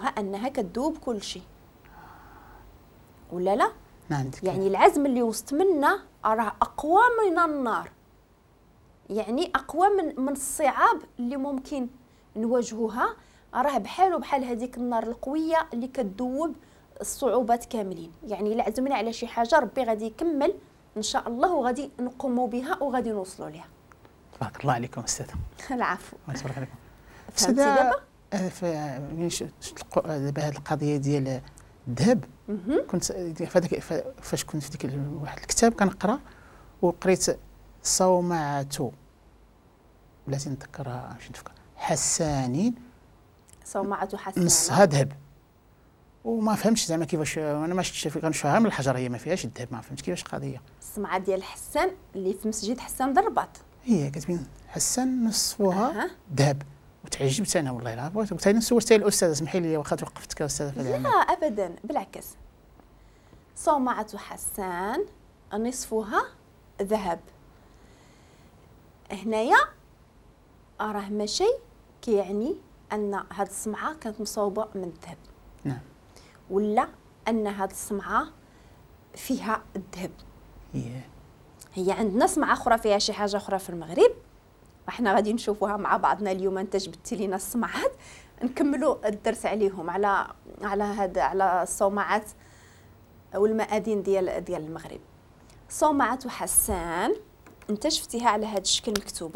كنعرفوها انها كتذوب كل شيء ولا لا؟ نعم. يعني العزم اللي وسط منا راه اقوى من النار، يعني اقوى من الصعاب اللي ممكن نواجهوها، راه بحالو بحال هذيك النار القوية اللي كتذوب الصعوبات كاملين. يعني الا عزمنا على شي حاجة ربي غادي يكمل ان شاء الله وغادي نقوموا بها وغادي نوصلوا لها. تبارك الله عليكم استاذه. العفو. تبارك عليكم. فهمتي دابا؟ دابا هذه القضية ديال الذهب، كنت فاش كنت في ديك واحد الكتاب كنقرا وقريت صومعة، بلاتي نتذكرها باش نتفكر، حسانين، صومعة حسان نصها ذهب، وما فهمتش زعما كيفاش، انا ما شفتش كنشوفها من الحجر، هي ما فيهاش الذهب، ما فهمتش كيفاش القضية. الصمعه ديال حسان اللي في مسجد حسان الرباط، هي كتبين حسان نصفها ذهب، وتعجبت انا والله العظيم. قلت انا سولت الاستاذة، اسمحي لي واخا توقفتك استاذه في العمل. لا ابدا بالعكس، صومعة حسان نصفها ذهب، هنايا راه ماشي كيعني ان هاد الصمعه كانت مصوبه من الذهب، نعم، ولا ان هاد الصمعه فيها الذهب. هي عندنا صمعه اخرى فيها شي حاجة اخرى في المغرب، وحنا غادي نشوفوها مع بعضنا اليوم. انت جبتي لينا الصمعات نكملوا الدرس عليهم، على على هاد على الصومعات والمآذن ديال المغرب. صومعة حسان انت شفتيها على هذا الشكل مكتوبة.